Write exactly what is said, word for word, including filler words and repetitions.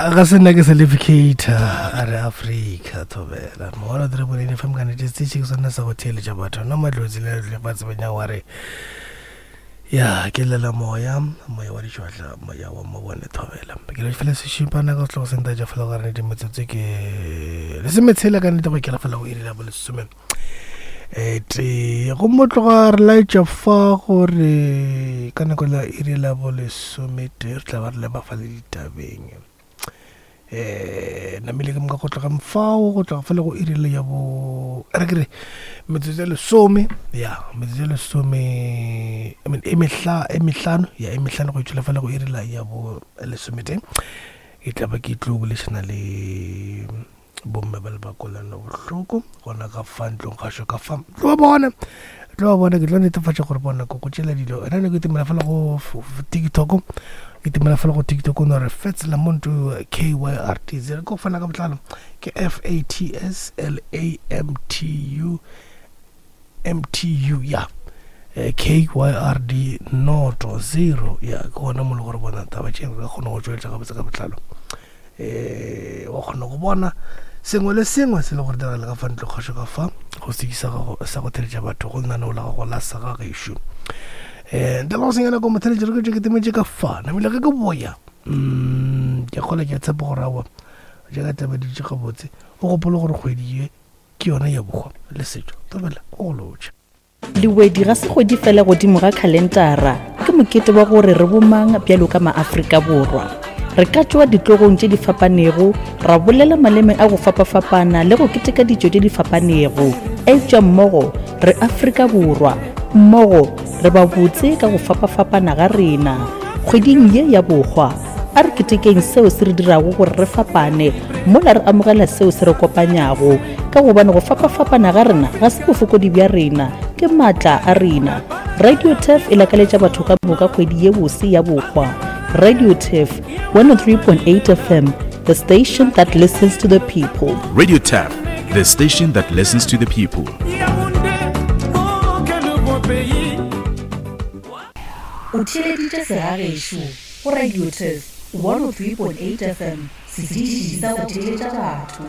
Ga se nna ke certificate a re Afrika thobela mogolo three point eight F M ka nete setše ke sone sa go theeletša batho nna matlotsi le lefatshe banya wa re ya ke lela moya, moya wa ditšhwahla, moya wa mabone thobela. Ke le fela sešipana ka setlogo sentaetša fela gore nete metsotso ke lesometshela ka nnete go ikela fela go iri la bolesome um tee. Gomme tloga re laetša fa gore ka nako la iri la bolesometee re tla ba re leba fa le ditabeng. um namile ke moka go tloga mfao go tloga fela go iri le ya bo re ke re metsotso e lesome, ya metsotso e lesome, I mean, e mehla e mehlano, ya e mehlano go itšwela fela go iri la ya bo lesometee e tla ba ke tlo bolešana le bomme ba le ba kolano bohloko gona ka fa ntlong gašo ka fa. Tlo ba bona, tlo ba bona. Ke tlo netefatša gore bona ko go tšela dilo ena ne ke itemela fela go TikTok, ke itemela fela go TikTok no re Fats Lamonto K Y R T zero ko fana ka botlalo ke F A T S L A M T U M T U ya K Y R D noto zero, ya ke gona mo le gore bona taba tše re ka kgona go tšweletša gabotse ka botlalo. um wa kgona go bona sengwe le sengwe se le gore diragale ka fa ntlo kgašo ka fa go sekisa gago sa go theletša batho go lenaneo la gago la sa ga gešo. um ntle le go senyana ko motheletši re ke tše ke temetše ka fa namile ge ke boya. mm ke kgola ke a tshepa gore aowa jaaka taba di dutše gabotse. O gopole gore kgwedi ye ke yona ya bokgwa le setšo. Tobela go go lotšha. Lewedi ga se kgwedi fela godimo ga khalentara, ke mokete wa gore re bomang bjalo ka maAfrika Borwa. Re ka tšwa ditlogong tše di fapanego, ra bolela maleme a go fapafapana le go keteka ditšo tše di fapanego, eupša mmogo re Afrika Borwa, mmogo re ba botse ka go fapafapana ga rena. Kgweding ye ya bokgwa a re ketekeng seo se re dirago gore re fapane mola re amogela seo se re kopanyago, ka gobane go fapafapana ga rena ga se bofokodi bja rena, ke maatla a rena. Radio Turf e lakaletša batho ka moka kgwedi ye bose ya bokgwa. Radio Turf one oh three point eight F M, the station that listens to the people. Radio Tap, the station that listens to the people. Yaoundé, oh, quel beau pays. O theeleditše Segagešo go Radio Turf one oh three point eight F M, setiši sa go theeletša batho.